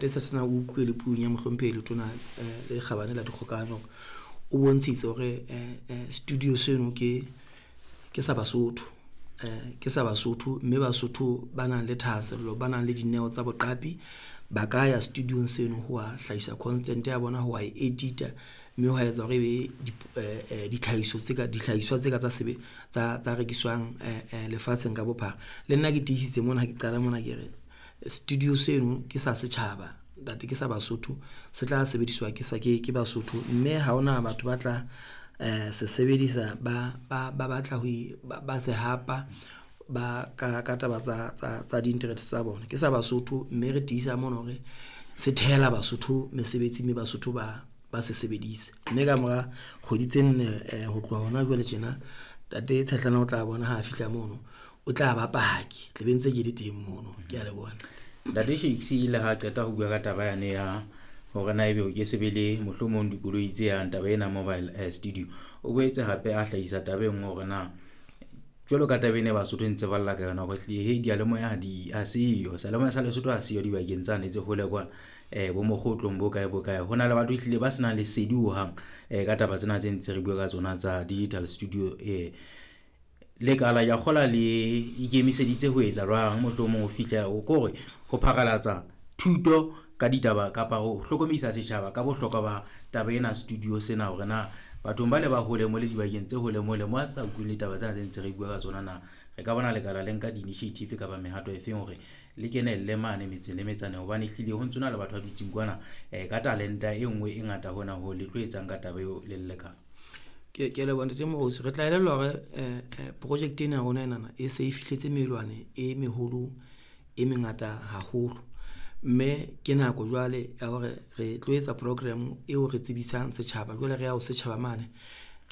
Sena o utlwe le puong ya mohlomphehi letona le kgabane la dikgokahanyo o bontshitse hore studio seno ke sa Basotho, ke sa Basotho mme Basotho ba nang le thahasello, ba nang le dineo tsa boqapi ba ka ya studio-ng seno ho wa hlahisa content ya bona ho wa e edit-a mme hwa etsa hore ebe ditlhahiso tse ka dihlahiswa tse ka tsa sebe tsa rekiswang lefatsheng ka bophara. Le nna ke tiisitse mona ha ke qala mona, ke re studio seno ke sa setjhaba ntate ke sa Basotho se tla sebediswa ke sa ke Basotho, mme ha hona batho ba tla se sebedisa, ba batla ho ba se hapa ba ka taba tsa di-interest tsa bona. Ke sa Basotho mme re tiisa mona hore se thehela Basotho mesebetsi mme Basotho ba se sebedise mme kamora kgwedi tse 4 ho tloha hona jwale tjena, Ntate Tshetlana o tla bona ha a fihla mono, o tla ba paki tla be ntse ke le teng mono. Ke a leboha. Ntate Shakes le ha qeta ho bua ka taba yane ya hore na ebe o ke se be le mohlomong dikoloi tse yang taba ena mobile studio, o boetse hape a hlahisa taba e nngwe hore na jwalo ka taba ena Basotho ntse ba lla ka yona hore hlile he diyalemoya ha di ha seyo, seyalemoya sa Lesotho ha seyo dibakeng tsane tse hole kwana bo mokgotlong bo kae bo kae. Ho na le batho ehlile ba senang lesedi hohang ka taba tsena tse ntse re bua ka tsona tsa digital studio. Lekala ya kgola le ikemiseditse ho etsa jwang mohlomong ho fihlela o kore ho pharalatsa thuto ka ditaba kapa ho hlokomedisa setjhaba ka bohlokwa ba taba ena studio sena hore na bathong ba le ba hole mo le dibakeng tse hole mole mo a sa utlweng ditaba tsena tse ntse re bua ka tsona, na re ka bona lekala le nka di-initiative kapa mehato e feng hore le kenelle mane metseng le metsaneng, hobane ehlile ho ntsona le batho ba dutseng kwana ka talenta e nngwe e ngata hona ho le tlo etsang ka taba eo le lekala. Ke leboha Ntate Moruti. Re tla elellwa hore project ena ya rona enana e se e fihletse melwane e meholo e mengata haholo, mme ke nako jwale ya hore re tlo etsa program eo re tsebisang setjhaba. Jwale re ya ho setjhaba mane,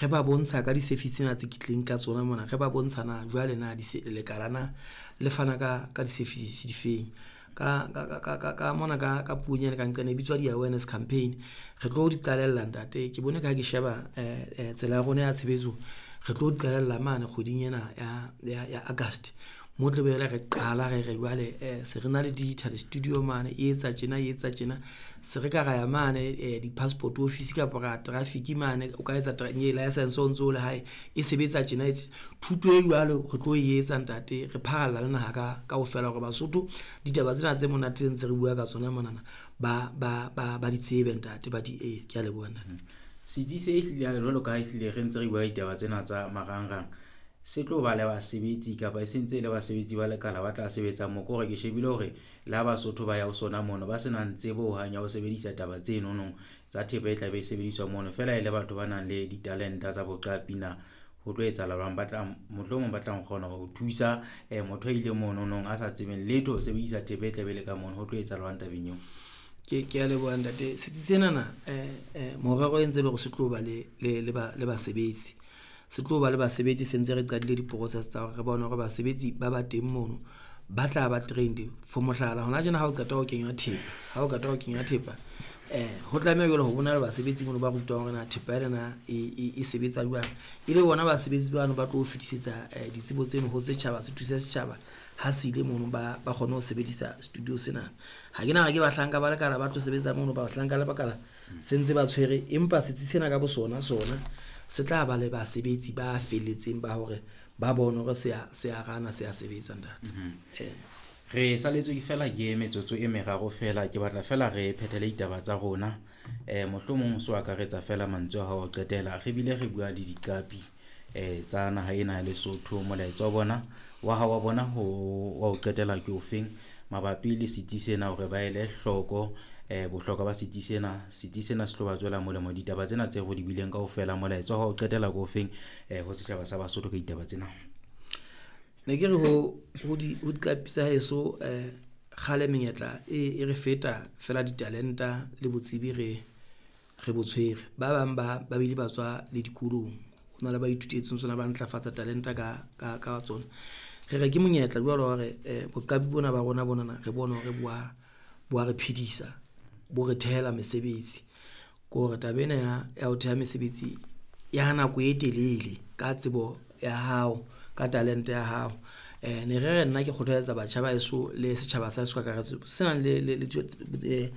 re ba bontsha ka di-service tsena tse tlileng ka tsona mona, re ba bontsha na jwale na lekala na le fana ka di-services difeng ka mona ka puong ena ka nqane e bitswa di-awareness campaign. Re tlo di qalella ntate, ke bone ka ha ke sheba tsela ya rona ya tshebetso, re tlo di qalella mane kgweding ena ya August mo tlo be re qala re re jwale se re na le digital studio mane e etsa tjena e etsa tjena, se re ka ra ya mane di-passport office kapa ra traffic mane, o ka etsa license o ntso le hae e sebetsa tjena. Thuto e jwalo re tlo e etsa ntate, re pharalla le naha ka kaofela hore Basotho ditaba tsena tse monate ntse re bua ka tsona monana ba di tsebe ntate, ba di ke a leboha ntate. Setsi se ehlile jwalo ka ha ehlile re ntse re bua ditaba tsena tsa marangrang, se tlo ba le basebetsi kapa e sentse le basebetsi ba lekala ba tla sebetsa mo, ke hore ke shebile hore le ha Basotho ba ya ho sona mono ba senang tsebo hohang ya ho sebedisa taba tse nonong tsa thepa e tla be e sebediswa mono, feela e le batho ba nang le ditalenta tsa boqapi na ho tlo etsahala jwang, ba tla mohlomong ba tla kgona ho thusa motho a ile mono nong a sa tsebeng letho ho sebedisa thepa e tla be le ka mono, ho tlo etsahala jwang tabeng eo? Ke a leboha ntate. Setsi senana morero e ntse le hore se tlo ba le basebetsi, se tlo ba le basebetsi se ntse re qadile di-process tsa hore re bone hore basebetsi ba ba teng mono ba tla ba trained. For mohlala, hona tjena ha o qeta ho kenywa thepa, ha o qeta ho kenywa thepa ho tlameha jwale ho bona le basebetsi mono ba rutwang hore na thepa ena e sebetsa jwang, e le bona basebetsi bano ba tlo fetisetsa ditsebo tseno ho setjhaba, se thuse setjhaba ha se ile mono ba kgone ho sebedisa studio sena. Ha ke nahana ke bahlanka ba lekala ba tlo sebetsa mono, bahlanka le bakala se ntse ba tshwere, empa setsi sena ka bo sona se tla ba le basebetsi ba felletseng ba hore ba bone hore se a rana, se a sebetsa ntate. Re saletswe fela ke metsotso e meraro fela, ke batla fela re phethele ditaba tsa rona. Mohlomong so akaretsa fela mantswe a hao ho qetela, re bile re bua le diqapi tsa naha ena ya Lesotho. Molaetsa wa bona wa hao wa bona ho wa ho qetela ke ofeng mabapi le setsi sena hore ba ele hloko bohlokwa ba setsi sena, setsi sena se tlo ba tswela molemo ditaba tsena tse re di buileng kaofela. Molaetsa wa hao qetela ke ofeng ho setjhaba sa Basotho ka ditaba tsena? Ne ke re ho diqapi tsa heso kgale menyetla e re feta fela ditalenta le botsebi re bo tshwere. Ba bang ba bile ba tswa le dikolong, ho na le ba ithutetseng tsona, ba ntlafatsa talenta ka tsona. Re re ke monyetla jwalo hore boqapi bona ba rona bonana re bone hore bo a re phedisa, bo re thehela mesebetsi. Ke hore taba ena ya ho theha mesebetsi ya nako e telele ka tsebo ya hao, ka talente ya hao. Ne re re nna ke kgothaletsa batjha ba heso le setjhaba sa heso ka kakaretso se nang le.